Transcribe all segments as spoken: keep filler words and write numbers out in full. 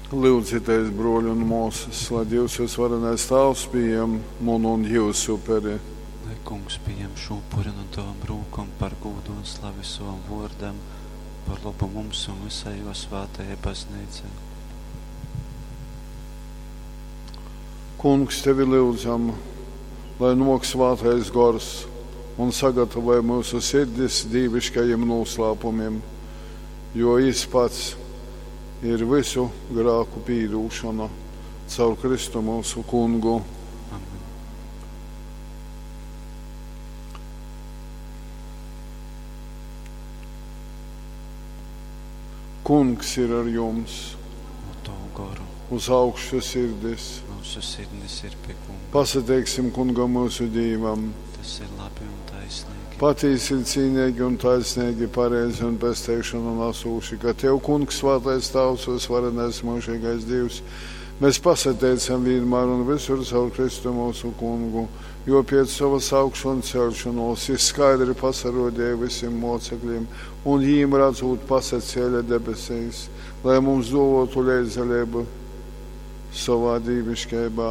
Lyudzitēs, bruoļi un muosys, lai Dīvs vysvarenais Tāvs pījam munu un jiusu uperi. Lai Kungs pījam šū upuri nu tovom rūkom par gūdu un slavi sovam vōrdam, par lobu mums un vysai jō svātajai Bazneicai. Kungs, tevi lyudzam, lai nuok Svātais Gors un sagatavoj myusu sirdis dīviškajim nūslāpumim, jo Jis pats ir vysu grāku pīdūšona. Caur Kristu myusu Kungu. Amen. Kungs ir ar jums, Un tovu goru. uz augšu sirdis. Mūsu sirdis ir pie Kunga. Pasateiksim Kungam myusu Dīvam. Tas ir labi un taisnīgi. Patīsi ir cīnīgi un taisnīgi, pareizi un pesteišanu nesūši, ka Tev, Kungs, svētais Tavs, visvarenais mūžīgais Dievs, mēs pasateicam vienmēr un visur caur Kristu mūsu Kungu, jo pēc savas augšu un celšanos jis skaidri pasarodēja visiem mocekļiem un jīm redzot pasacēla debesīs, lai mums dotu leidzalību savā dīvišķībā.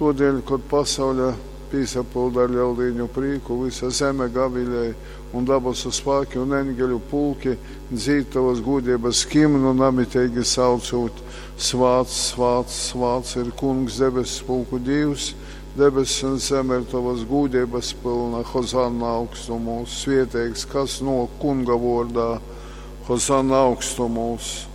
Todēļ, kad pasaule pīsapilda ar lieldiņu prīku, visa zeme gavilēja un dabasu spēki un eņģeļu pulki dzīd tavas gūdības himnu namitīgi saucot: Svāts, svāts, svāts ir Kungs debesu pulku Dievs, debesis un zeme ir tavas gūdības pilna, Hozanna augstumos, svieteigs, kas no Kunga vārdā, Hozanna augstumos.